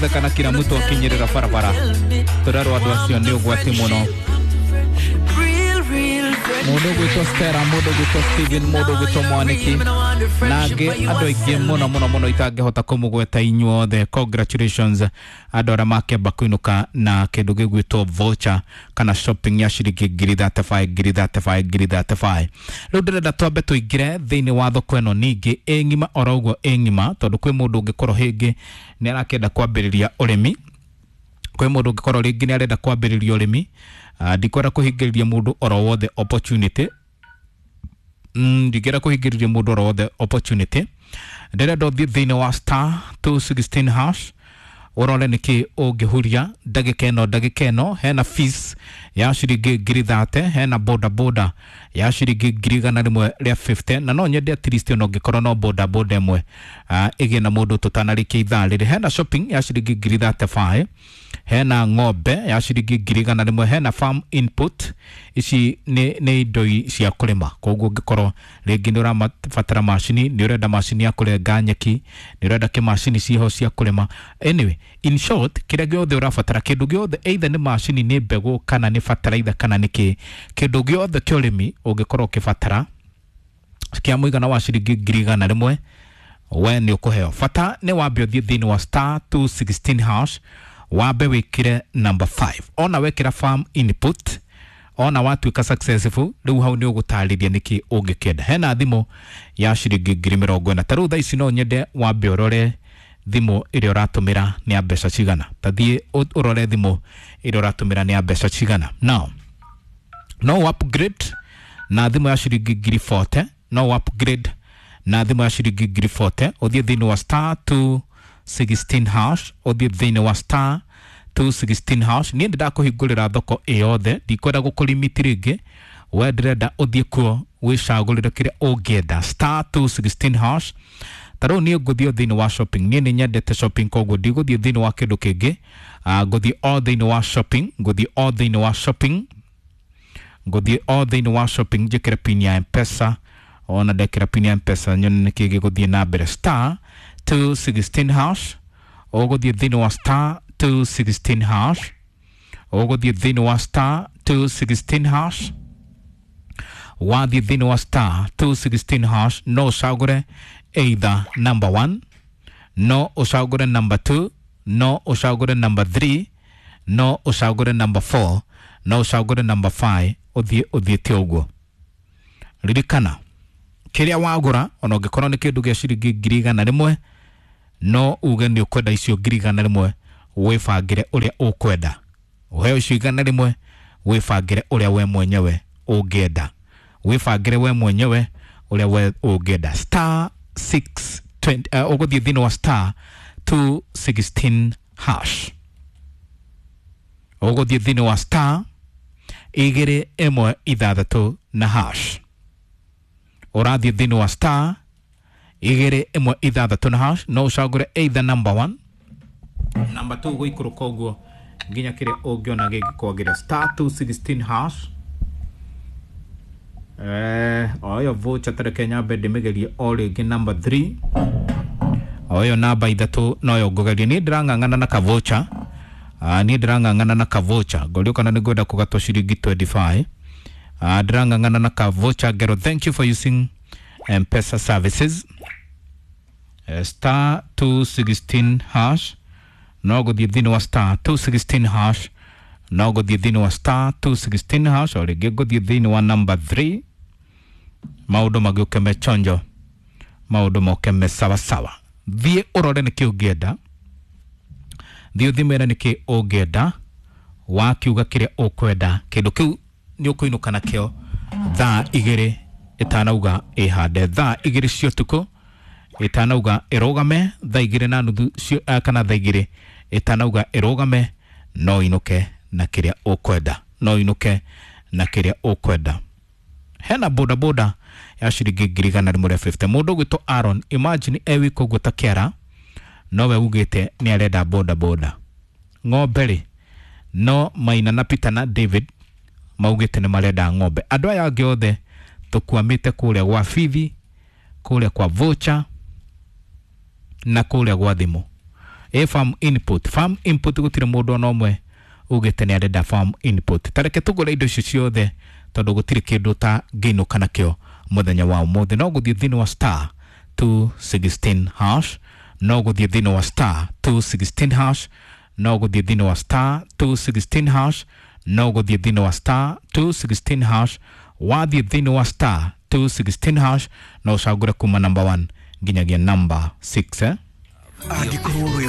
Tũratheka na kila mtu akinyĩrĩra barabara. Tũrerwo andũ acio nĩ ũgwati mũno. Mũndũ ũgwĩtwo Stella, mũndũ ũgwĩtwo Steven, mũndũ ũgwĩtwo Mwaniki na angĩ andũ aingĩ mũno mũno mũno itangĩhota kũmũgweta inyuothe. Congratulations andũ arĩa makĩamba kũinũka na kĩndũ gĩgwĩtwo voucher kana shopping ya ciringi ngiri 35, ngiri 35, ngiri 35. Rĩu ndĩrenda twambe tũingĩre thĩinĩ wa thoko ĩno ningĩ ĩ ng'ima oro ũguo ĩ ng'ima, tondũ kwĩ mũndũ ũngĩkorwo hĩngĩ nĩ arakĩenda kwambĩrĩria ũrĩmi, kwĩ mũndũ ũngĩkorwo rĩngĩ nĩ arenda kwambĩrĩria ũrĩmi. Ndikwenda kũhingĩrĩria mũndũ oro wothe opportunity. Ndingĩenda kũhingĩrĩria mũndũ oro wothe opportunity. Ndĩrenda ũthiĩ thĩinĩ wa star 216 hash ũrore nĩkĩ ũngĩhuria ndagĩka ĩno. Ndagĩka ĩno hena fees ya ciringi ngiri 30, hena boda boda ya ciringi 150,000, na no nyende at least ona ũngĩkorwo no boda boda ĩmwe ĩgĩe na mũndũ tũtanarĩkia ithaa rĩrĩ. Hena shopping ya ciringi ngiri 35, hena ng'ombe ya ciringi 100,000, hena farm input. Ici nĩ indo cia kũrĩma, koguo ũngĩkorwo rĩngĩ nĩ ũrabatara macini, nĩ ũrenda macini ya kũrenga nyeki, nĩ ũrenda kĩmacini ciho cia kũrĩma. Anyway, in short, kĩrĩa gĩothe ũrabatara, kĩndũ gĩothe, either nĩ macini, nĩ mbegũ, kana nĩ bataraitha, kana nĩ kĩ, kĩndũ gĩothe kĩa ũrĩmi ũngĩkorwo ũkĩbatara kĩa mũigana wa ciringi 100,000, we nĩ ũkũheo. Bata nĩ wambe ũthiĩ thĩinĩ wa star 216 hash, wambe wĩkĩre number 5. Ona wekĩra farm input, ona watuĩka successful, rĩu hau nĩ ũgũtarĩria nĩkĩ ũngĩkĩenda. Hena thimũ ya ciringi 40,000. Ta rĩu thaa ici no nyende wambe ũrore thimũ ĩrĩa ũratũmĩra nĩ ya mbeca cigana. Ta thiĩ ũrore thimũ ĩrĩa ũratũmĩra nĩ ya mbeca cigana. Now no upgrade na thimũ ya ciringi ngiri 40, no upgrade na thimũ ya ciringi ngiri 40. Ũthiĩ thĩinĩ wa star 216 hash, ũthiĩ thĩinĩ wa star 216 hash. Niĩ ndĩndakũhingũrĩra thoko ĩyothe, ndikwenda gũkũrimiti rĩngĩ. We ndĩrenda ũthiĩ kuo wĩcagũrĩre kĩrĩa ũngĩenda. Star 216 hash. Ta rĩu niĩ ngũthiĩ thĩinĩ wa shopping. Niĩ nĩ nyendete shopping, koguo ndigũthiĩ thĩinĩ wa kĩndũ kĩngĩ. Ngũthiĩ o thĩinĩ wa shopping, ngũthiĩ o thĩinĩ wa shopping, ngũthiĩ o thĩinĩ wa shopping, njĩkĩre pin ya Mpesa. Ona ndekĩra pin ya Mpesa, nyone nĩkĩ gĩgũthiĩ na mbere. Star 216 hash. Ũgũthiĩ thĩinĩ wa star 216 hash, ũgũthiĩ thĩinĩ wa star 216 hash. Wathiĩ thĩinĩ wa star 216 hash, no ũcagũre either number 1, no ũcagũre number 2, no ũcagũre number 3, no ũcagũre number 4, no ũcagũre number 5. Ũthiĩ ũthiĩte ũguo. Ririkana, kĩrĩa wagũra, ona ũngĩkorwo nĩ kĩndũ gĩa ciringi 100,000, no uge nĩ ũkwenda icio 100,000, wĩbangĩre ũrĩa ũkwenda. Ũheo icio 100, wĩbangĩre ũrĩa we mwenyewe ũngĩenda, wĩbangĩre we mwenyewe ũrĩa we ũngĩenda. Star 620, ũgũthiĩ thĩinĩ wa star 216 hash, ũgũthiĩ thĩinĩ wa star 216 na hash. Ũrathiĩ thĩinĩ wa star 216 na hash, no ũcagũre either number 1, number 2, gũikũrũka ũguo nginya kĩrĩa ũngĩona gĩngĩkwagĩra. Star 216 hash. O ĩyo voucher, tareke nyambe ndĩmĩgerie o rĩngĩ. Number 3, o ĩyo namba ithatũ noyo ngũgeria. Niĩ ndĩrang'ang'ana na kavocha. Niĩ ndĩrang'ang'ana na kavocha, ngorio kana nĩ ngwenda kũgatwo ciringi 25. Ndĩrang'ang'ana na kavocha ngero. Thank you for using Mpesa services. Star 216 hash. No gũthiĩ thĩinĩ wa star 216 hash, no gũthiĩ thĩinĩ wa star 216 hash. O rĩngĩ ngũthiĩ thĩinĩ wa number 3, maũndũ magĩũke me chonjo, maũndũ moke me sawasawa. Thiĩ ũrore nĩkĩ ũngĩenda, thiĩ ũthimĩre nĩkĩ ũngĩenda. Wakiuga kĩrĩa ũkwenda, kĩndũ kĩu nĩ ũkũinũka nakĩo thaa 2 ĩtanauga ĩhande, thaa 2 cia ũtukũ ĩtanauga ĩrũgame, thaa 2 na nuthu kana thaa 2 ĩtanauga ĩrũgame, no inũke na kĩrĩa ũkwenda, no inũke na kĩrĩa ũkwenda. Hena boda boda ya ciringi 150,000. Mũndũ ũgwĩtwo Aaron, imagine e wika ũguo ta kĩara, nowe ugĩte nĩ arenda boda boda. Ng'ombe rĩ, no Maina na Peter na David maugĩte nĩ marenda ng'ombe. Andũ aya angĩ othe tũkwamĩte kũrĩa gwa bithi, kũrĩa kwa voucher na kũrĩa gwa thimũ. Ĩ farm input, farm input gũtirĩ mũndũ ona ũmwe ugĩte nĩ arenda farm input. Tareke tũgũre indo icio ciothe tondũ gũtirĩ kĩndũ ta ngĩinũka nakĩo mũthenya wa ũmũthĩ. No gũthiĩ thĩinĩ wa star 216 hash, no gũthiĩ thĩinĩ wa star 216 hash, no gũthiĩ thĩinĩ wa star 216 hash, no gũthiĩ thĩinĩ wa star 216 hash. Wathiĩ thĩinĩ wa star 216 hash no ũcagũre kuma number 1 nginyagia number 6, eh? Angĩkorwo wĩ